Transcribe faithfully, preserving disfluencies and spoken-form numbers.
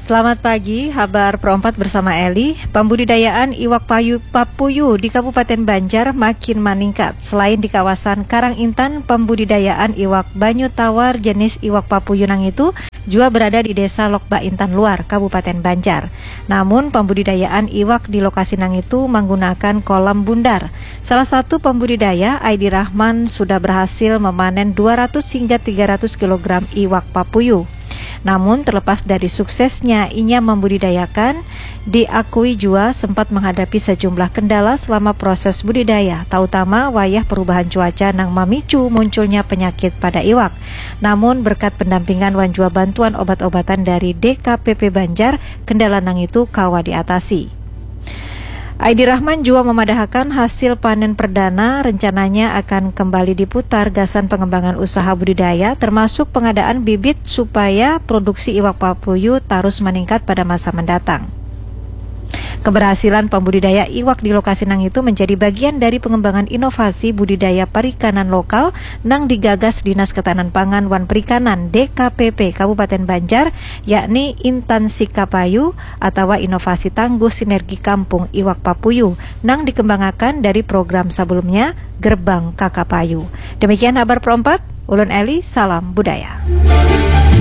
Selamat pagi, habar perompat bersama Eli. Pembudidayaan iwak payu papuyu di Kabupaten Banjar makin maningkat. Selain di kawasan Karang Intan, pembudidayaan iwak banyu tawar jenis iwak papuyu nang itu jua berada di Desa Lokba Intan Luar, Kabupaten Banjar. Namun, pembudidayaan iwak di lokasi nang itu menggunakan kolam bundar. Salah satu pembudidaya, Aidi Rahman, sudah berhasil memanen dua ratus hingga tiga ratus kilogram iwak papuyu. Namun, terlepas dari suksesnya inya membudidayakan, diakui jua sempat menghadapi sejumlah kendala selama proses budidaya, terutama wayah perubahan cuaca nang memicu munculnya penyakit pada iwak. Namun, berkat pendampingan wan jua bantuan obat-obatan dari D K P P Banjar, kendala nang itu kawa diatasi. Aidi Rahman jua memadahakan hasil panen perdana rencananya akan kembali diputar gasan pengembangan usaha budidaya, termasuk pengadaan bibit supaya produksi iwak papuyu tarus meningkat pada masa mendatang. Keberhasilan pembudidaya iwak di lokasi nang itu menjadi bagian dari pengembangan inovasi budidaya perikanan lokal nang digagas Dinas Ketahanan Pangan wan Perikanan D K P P Kabupaten Banjar, yakni Intan Sikapayu atawa inovasi tangguh sinergi kampung iwak papuyu nang dikembangakan dari program sebelumnya, Gerbang Kakapayu. Demikian habar perompat, ulun Eli, salam budaya.